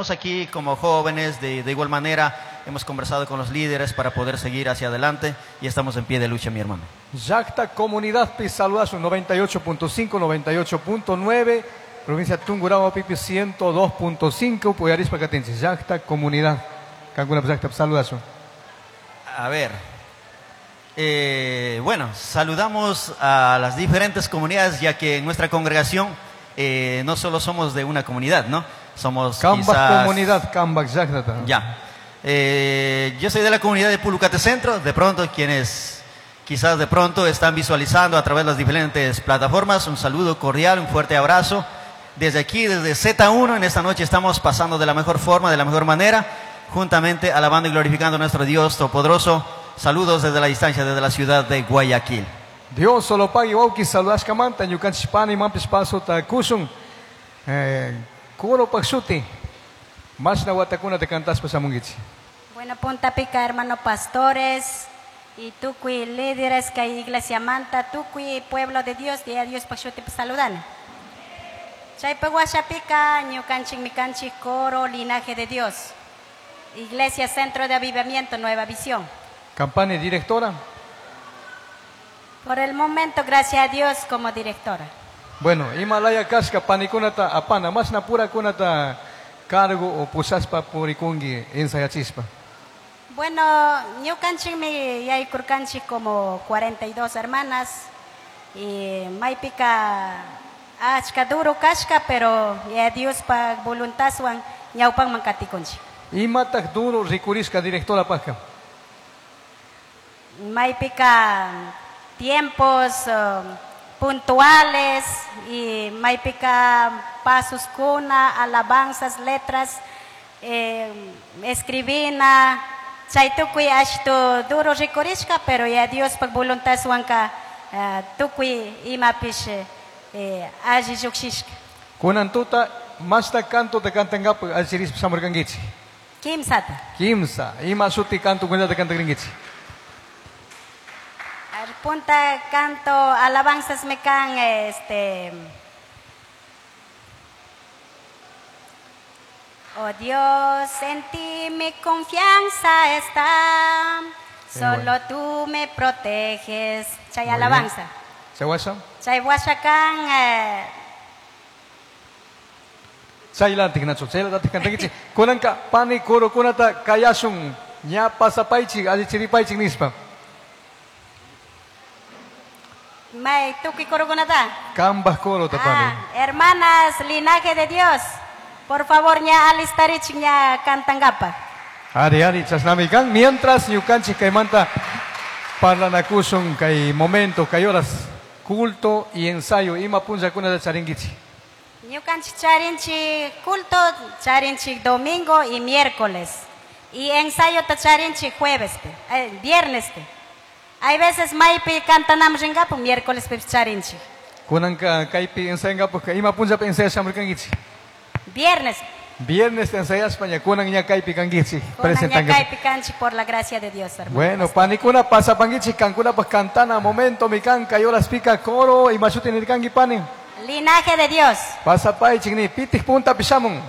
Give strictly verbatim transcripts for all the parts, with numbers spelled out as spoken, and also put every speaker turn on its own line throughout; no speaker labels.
Estamos aquí como jóvenes, de, de igual manera hemos conversado con los líderes para poder seguir hacia adelante y estamos en pie de lucha, mi hermano.
Llakta comunidad pi saludasun noventa y ocho punto cinco, noventa y ocho punto nueve, provincia Tungurahua pipi ciento dos punto cinco, Puyarispa Catense. Llakta comunidad, Cancún Llakta saludasun.
A ver, eh, bueno, saludamos a las diferentes comunidades, ya que en nuestra congregación, eh, no solo somos de una comunidad, ¿no? Somos
Cambas
quizás
comunidad, Cambas Llakta.
Ya. Eh, yo soy de la comunidad de Pulucate Centro, de pronto quienes quizás de pronto están visualizando a través de las diferentes plataformas, un saludo cordial, un fuerte abrazo. Desde aquí, desde Z uno, en esta noche estamos pasando de la mejor forma, de la mejor manera, juntamente alabando y glorificando a nuestro Dios Todopoderoso. Saludos desde la distancia, desde la ciudad de Guayaquil.
Dios solo pague, wauki, saludas kamanta, ñukanchis pani, mampis paso takusun. Eh, coro paxuti. Más na watakuna te cantas pasamungichi.
Bueno, punta pica, hermano pastores y tucui líderes que hay iglesia manta, tucui pueblo de Dios, de Dios paxuti saludan. Chaypa guachapica, ñukanchik mikanchik coro, linaje de Dios. Iglesia Centro de Avivamiento, Nueva Visión.
Campana directora.
Por el momento, gracias a Dios, como directora.
Bueno, Himalaya Casca, panikunata, apana, más na pura kunata cargo o pusaspa purikungi ensayachispa.
Bueno, ñukanchik mi yaykurkanchik como cuarenta y dos hermanas y maypika achka duro kashka, pero ya Dios pa voluntadwan ñawpanman katikunchik.
Imataq duro rikurisqa directora paja.
Maypika tiempos, um, puntuales y maypika pasos kuna, alabanzas, letras, eh, escribina, chaytukuy ashtu duro rikurishka, pero ya Dios pa voluntadwanka, eh, tukuy imapish, eh, alli lluqshishka.
Kunan tuta, masta canto te cantangapaq allirispa shamurkankichik.
Kimsata.
Kimsa, ima suti canto kunata cantagrinkichik.
Punta canto alabanzas me can, este, oh Dios, en ti mi confianza está,
Qué
solo
bueno.
tú me proteges. Chay
Muy bien.
alabanza.
Chay guasa.
Chay guasa can, eh,
Chay lantik nacho, chay lantik cantakichi. Kunanka pani coro kunata kayasun, ña pasapaichi, allichiripaichi nispa.
May tuki coro kunata.
Kambas coro tapani.
Ah, hermanas, linaje de Dios, por favor, ña alistarich ña cantangapa.
Ari, ari, chasnami kan. Mientras, ñukanchik kaymanta parlanakusun kay momento, kay horas, culto y ensayo, ima punlla kunata charinkichi.
Ñukanchik charinchi culto, charinchi domingo y miércoles. Y ensayo ta charinchi jueves, pe, eh, viernes. Pe. Hay veces maypi cantanam ringapu, miércoles pe charinchi.
Kunanka kaypi ensayangapu, ima punlla pe ensayashamurkankichi.
Viernes.
Viernes te ensayas, paña, kunan ña kaypi kankichi,
Kunan ña
presentangapu.
kaypi kanchi por la gracia de Dios, hermano.
Bueno, panikuna pasapankichi, kankuna pa cantana, momento, mi kanka, y horas pica, coro, y mashuti nirkanki pani.
Linaje de Dios.
Pasapay, chigni, pitij punta pishamun.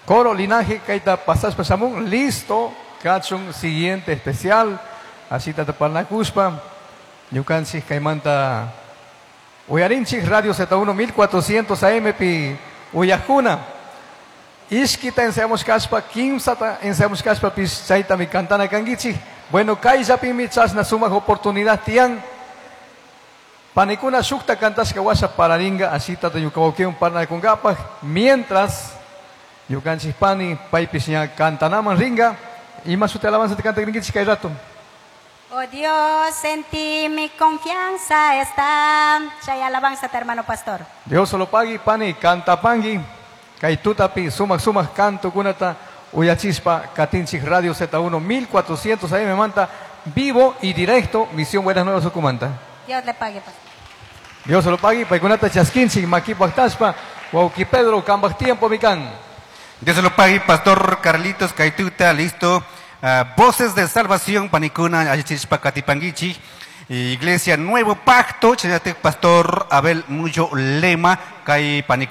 Coro, linaje, kaita pasas pasamun, listo, kachun, siguiente especial. Así tata parnakuspa, ñukanchik kaymanta uyarinchik Radio Z uno mil cuatrocientos A M pi uyajuna. Ishkita ensayamos kaspa, kimsata ensayamos kaspa pis chayta mi cantana kankichik. Bueno, kayllapimi chasna sumaq oportunidad tiyan. Panikuna shukta kantashka washa pararinga, así tata ñukawawkiwan parnakunkapaj. Mientras, ñukanchik pani paypis ña kantanaman ringa. Ima suti alabanza te canta gringichik kay rato.
Oh Dios, en ti mi confianza está. Chay alabanza, hermano pastor.
Dios solo pagui, pani, canta pangui. Kay tutapi, sumaq, sumaq, canto kunata, uyachispa, katinchik Radio Z uno, mil cuatrocientos A M manta, vivo y directo, Misión Buenas Nuevas Ucumanta.
Dios le pague, pastor.
Dios solo pagui, paikunata chasquinchik, maki pactaspa, wauki Pedro, kambak tiempo, mikan.
Dios se lo pague, pastor Carlitos Kaituta, listo. Ah, voces de salvación, panikuna, ayachispa, katipanguichi. Iglesia Nuevo Pacto, chayate pastor Abel Muyo Lema, kay panikuna.